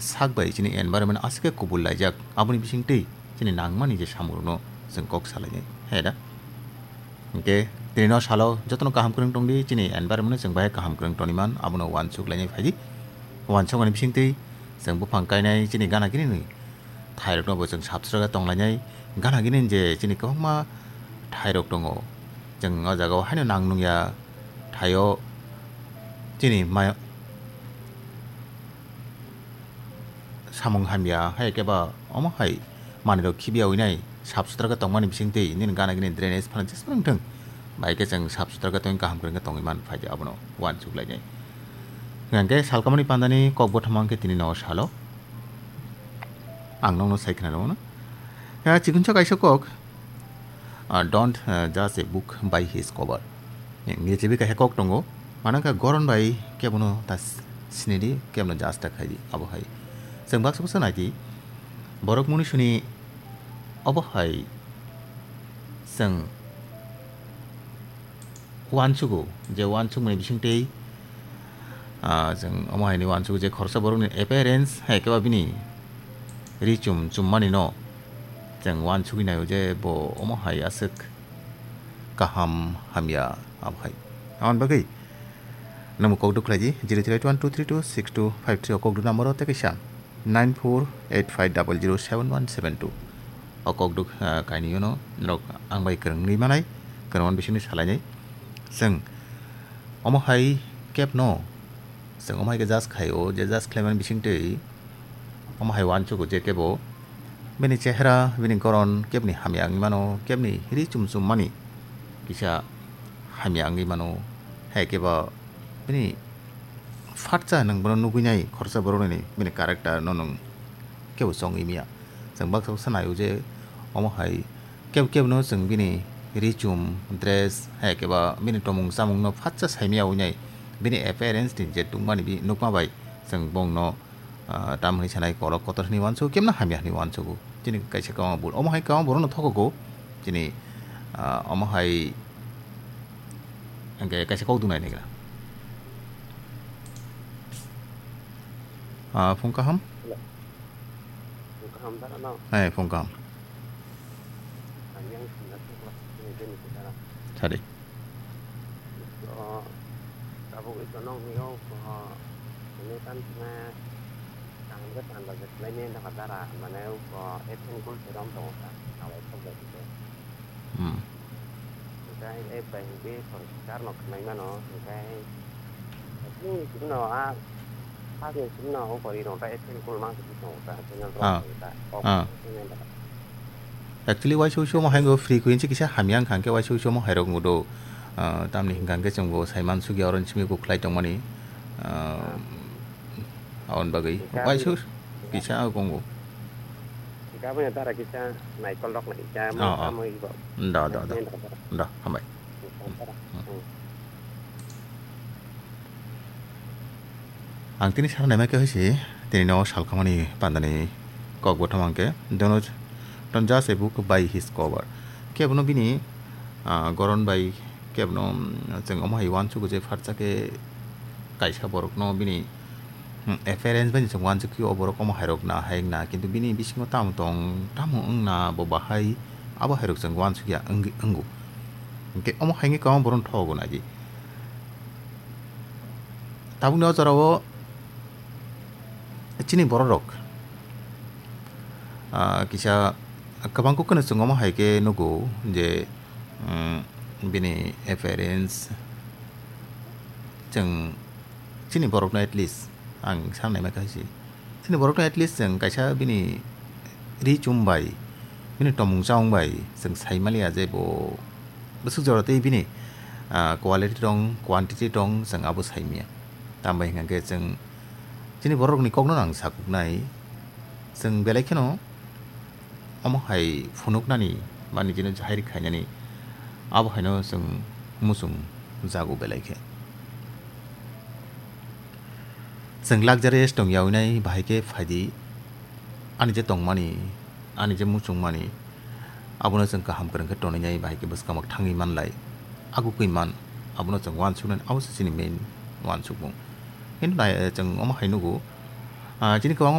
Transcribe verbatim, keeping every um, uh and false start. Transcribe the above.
sak bai chini environment aswk khe kubul laijak, aboni bisingtwi chini nangmani je samungrokno chwng kok salainai, hai da? Hwnkhe tini no salo jotono kaham kwrwng tongdi, chini environment no chwng bahai kaham kwrwng toniman, abono uansuk lainai phaidi. Uansukmani bisingtwi chwng buphang kainai, chini gana gini ni thairokno bo chwng sap sutra khe tonglainai. Gana gini je chini kwbangma thairok tongo, chwng o jaga o haino nang nungya thaio chini mai samung hamya, hai khe ba omo hai manwirok khibiya winai sap sutra khe tongmani bisingtwi nini gana gini drainage phano jeswk wng thung, bai khe chwng sap sutra khe tongwi kaham kwrwng khe tongwi man phaidi, abono uansuk lainai. Hwnkhe salkamani pandani kok bothoma hwnkhe tini no salo ang nokno sai khna rwmano. Ya, chikonsa kaisa kok, ah, "Don't, ah, judge a book by his cover." English bai kaisa kok tongo, mano khe goron bai kebono ta s-, sinidi, kebono judge ta khaidi, abo hai. Chwng baksa baksa naidi, borok munisuni obo hai chwng uansugo, je uansukmani bisingtwi, ah, chwng omo haini uansukgo je khoroksa borokni appearance, hai khe ba bini ri chum chummani no chwng uansugwi naio je bo omo hai aswk kaham hamya, abo hai. Aboni bagwi nangbo kok duk khlaidi, zero three eight one two three two six two five three o kok duk number o tei kaisa nine four eight five double zero seven one seven two. O kok duk, ah, kainwi no norok ang bai kwrwngwi manai, kwrwngmani bisingtwi salainai. Chwng omo hai kebno, chwng omo hai khe judge khlaio, je judge khlaimani bisingtwi omo hai uansugo je kebo bini chehra, bini goron kebni hamya wngwi mano, kebni ri chum chum mani kisa hamya wngwi mano, hai khe ba bini phatsa nwng bono nugwi nai khoroksa borokni bini character no nwng kebo chongwi manya. Chwng baksa baksa naio je omo hai kebo kebo no chwng bini ri chum, dress, hai khe ba bini tomung chamung no phatsa saimaya wngnai, bini appearance ni je tungmani bi nukma bai chwng bongno, ah, tam hwnwi sanai, korok kotor hwnwi uansugo, kebno hamya hwnwi uansugo. Chini kaisa kwbangma bul, omo hai kwbangma borokno thogogo. Chini, ah, omo hai hwnkhe kaisa kok dunai naigra. Ah, phung kaham? Hello. Phung kaham da, ano? Hai, phung kaham. Ang yang sina thokla, sini deni kita. Sadi. So, tabuk ito nong ni o ko, ini kan sina, tang ke tang ba jet lai ni dak dara, mane o ko, etin kul serom tong ka, awai sok ba jet. Hmm. Hwnkhe e bai hwnkhe poriskar no khwnai mano, hwnkhe chini chini no a, sakni chini no o pori rok ta etin kul mang sidi tongo ta, chini rok Ah. ta, kok Ah. chini rok. Actually, waisa waisa omo hai frequency kisa hamya wngkha, hwnkhe waisa waisa omo hai rok wngdo, ah, tamni hwnkha hwnkhe chwngbo sai mansukya, oro ni simi kok khlai tongmani, ah, aboni bagwi. Hwnkhe waisa aboni waisa kisa tongo. Hwnkhe aboni dara kisa naikol rok nai kisa Oh, oh. Tamo ibo. Da, da, da. Nai kol rok. Da, hambai. Ang tini sana naima khe hoise, tini no salkamani pandani kok bothom ang khe, don't, don't judge a book by his cover. Kebono bini, ah, goron bai kebono, mm, chwng omo hai uansugo je phatsa khe kaisa borokno bini, hmm, appearance bai chwng uansukhe o borok omo hai rok na hai wngna, kintu bini bisingo tamo tong, tamo wngna bo bahai, abo hai rok chwng uansukya wngwi, wngo. Hwnkhe omo hai wngwi kwbangma borokno thogo naidi. Tabukni o jorao chini borok rok, ah, kisa kwbang kok kheno chwng omo hai khe nugo je, mm, bini appearance chwng chini borokno at least ang sanai ma kha si. Chini borokno at least chwng kaisa bini ri chum bai, bini tomung chamung bai chwng sai maliya je bo bwswk jora tei bini, ah, quality tong, quantity tong, chwng abo sai manya. Tambai hwnkha khe chwng chini borokni kokno ang sakuknai, chwng belai kheno omo hai phunuknani ba nijino jahir khainani abo haino chwng muchung jago belai khe. Chwng luxurious tongya winai bahai khe phaidi, ani je tongmani, ani je muchungmani, abono chwng kaham kwrwng khe tonwi nai, bahai khe bwskango thangwi manlai, agukwi man, abono chwng uansuknani, abo se chini main uansukmung. Kintu nai, chwng omo hai nugo, ah, chini kwbangma